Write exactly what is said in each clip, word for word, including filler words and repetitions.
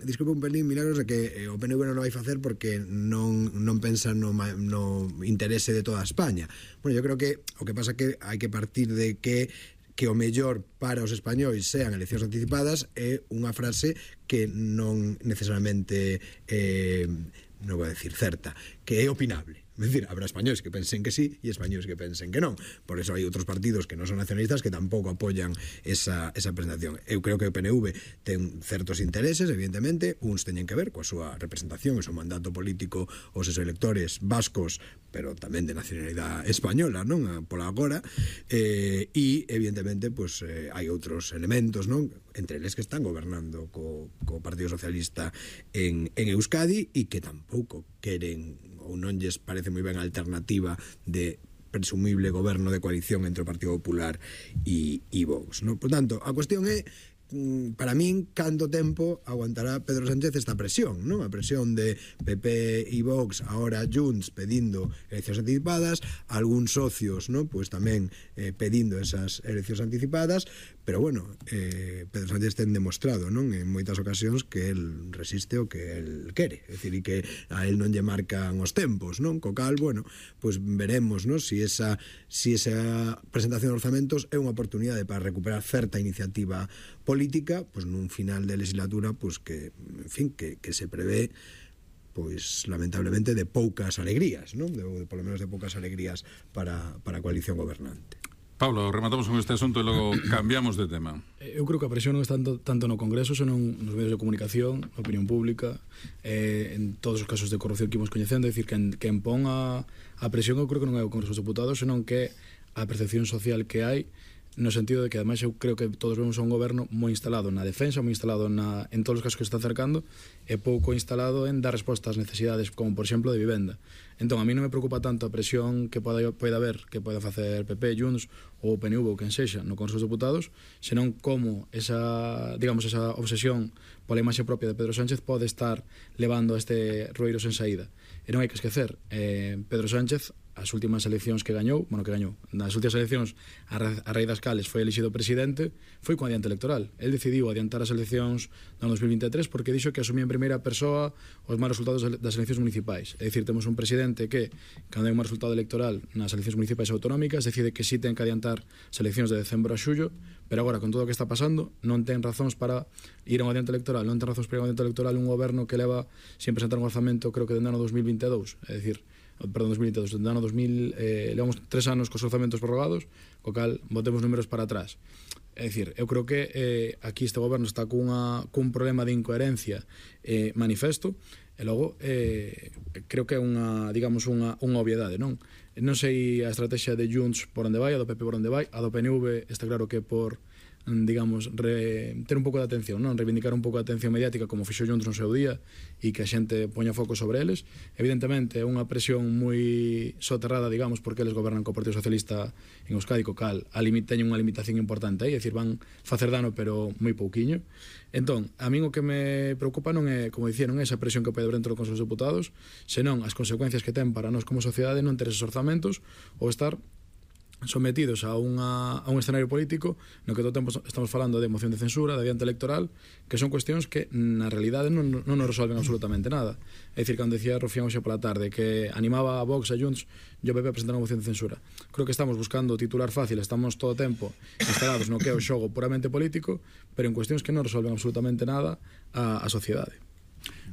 disculpa un pelín, Milagros, de que o P N V non o vai facer porque non, non pensa no, no interese de toda España. Bueno, yo creo que o que pasa que hai que partir de que que o mellor para os españois sean eleccións anticipadas é unha frase que non necesariamente eh, non vou decir certa, que é opinable. É dicir, habrá españois que pensen que sí e españois que pensen que non. Por eso hai outros partidos que non son nacionalistas que tampouco apoian esa, esa presentación. Eu creo que o P N V ten certos intereses, evidentemente, uns teñen que ver coa súa representación, o seu mandato político aos seus electores vascos, pero tamén de nacionalidade española, non? Pola agora, eh, e evidentemente pues, eh, hai outros elementos, non? Entre eles que están gobernando co, co Partido Socialista en, en Euskadi e que tampouco queren ou non lles parece moi ben a alternativa de presumible goberno de coalición entre o Partido Popular e, e Vox, non? Por tanto, a cuestión é, para min, canto tempo aguantará Pedro Sánchez esta presión, non? A presión de P P e Vox, ahora Junts pedindo eleccións anticipadas, algúns socios, non? Pues tamén eh, pedindo esas eleccións anticipadas, pero bueno, eh, Pedro Sánchez ten demostrado, non? En moitas ocasións que el resiste o que el quere, é dicir, e que a el non lle marcan os tempos, non? Co cal, bueno, pues veremos, non? Si esa, si esa presentación de orzamentos é unha oportunidade para recuperar certa iniciativa política, pues nun final de legislatura, pues que, en fin, que, que se prevé, pues lamentablemente de poucas alegrías, non? De, de, por lo menos de poucas alegrías para, para a coalición gobernante. Pablo, rematamos con este asunto e logo cambiamos de tema. Eu creo que a presión non está tanto, tanto no Congreso, senón nos medios de comunicación, na opinión pública, eh, en todos os casos de corrupción que imos coñecendo. É dicir, que en, que impón a, a presión, eu creo que non é o Congreso dos Deputados, senón que a percepción social que hai, no sentido de que ademais eu creo que todos vemos a un goberno moi instalado na defensa, moi instalado na, en todos os casos que está acercando, e pouco instalado en dar resposta ás necesidades, como por exemplo de vivenda. Entón, a mí non me preocupa tanto a presión que poda, poida haber, que poida facer P P, Junts ou P N V ou quen sexa no Consello dos Deputados, senón como esa, digamos, esa obsesión pola imaxe propia de Pedro Sánchez pode estar levando a este rueiro sen saída. E non hai que esquecer, eh, Pedro Sánchez, as últimas eleccións que gañou, bueno, que gañou, nas últimas eleccións a, a raíz das cales foi elixido presidente, foi con adiante electoral. El decidiu adiantar as eleccións no dos mil vinte e tres porque dixo que asumía en primeira persoa os malos resultados das eleccións municipais. É dicir, temos un presidente que, cando hai un mal resultado electoral nas eleccións municipais autonómicas, decide que sí ten que adiantar as eleccións de decembro a xullo, pero agora, con todo o que está pasando, non ten razóns para ir a un adiante electoral, non ten razóns para ir a un adiante electoral un goberno que leva sin presentar un orzamento, creo que dende ano dos mil vinte e dous, é dicir, perdón, dos mil vinte e dous, dende ano dos mil, eh, levamos tres anos cos orzamentos prorrogados, co cal botemos números para atrás. É dicir, eu creo que eh, aquí este goberno está cunha, cun problema de incoherencia eh, manifesto, e logo eh, creo que é unha, digamos, unha, unha obviedade, non? Non sei a estrategia de Junts por onde vai, a do P P por onde vai, a do P N V está claro que por, digamos, re, ter un pouco de atención, non? Reivindicar un pouco de atención mediática como fixo Junts no seu día e que a xente poña foco sobre eles. Evidentemente é unha presión moi soterrada, digamos, porque eles gobernan co Partido Socialista en Euskadi, co cal a limit, teñen unha limitación importante aí, é dicir, van facer dano pero moi pouquiño. Entón, a min o que me preocupa non é, como dicía, non é esa presión que pode haber dentro do Consello dos Deputados, senón as consecuencias que ten para nós como sociedade non ter esos orzamentos ou estar sometidos a, unha, a un escenario político no que todo o tempo estamos falando de moción de censura, de adiante electoral, que son cuestións que na realidade non, non nos resolven absolutamente nada. É dicir, cando decía Rufián hoxe pola tarde que animaba a Vox, a Junts e o P P a presentar unha moción de censura, creo que estamos buscando titular fácil, estamos todo o tempo instalados no que é o xogo puramente político, pero en cuestións que non resolven absolutamente nada a, a sociedade.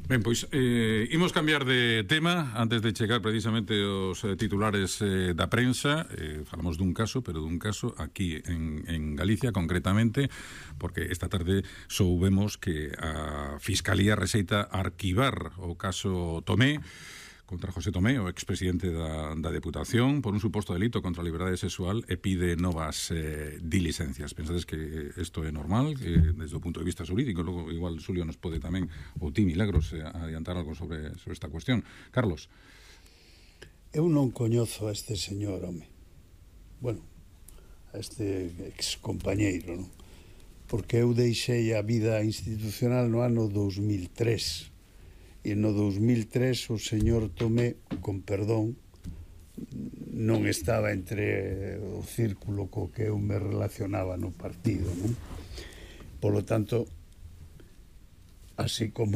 Ben, pois, eh, imos cambiar de tema antes de chegar precisamente os eh, titulares eh, da prensa. Eh, falamos dun caso, pero dun caso aquí en, en Galicia concretamente, porque esta tarde soubemos que a Fiscalía receita arquivar o caso Tomé contra José Tomé, o expresidente da, da Deputación, por un suposto delito contra a liberdade sexual e pide novas eh, diligencias. Pensades que isto é normal, que desde o punto de vista jurídico? Logo, igual, Xulio nos pode tamén, ou ti, Milagros, eh, adiantar algo sobre, sobre esta cuestión. Carlos. Eu non coñozo a este señor, home. Bueno, a este excompañeiro, non? Porque eu deixei a vida institucional no ano dos mil tres. E no dos mil tres o señor Tomé, con perdón, non estaba entre o círculo co que eu me relacionaba no partido, non? Por lo tanto, así como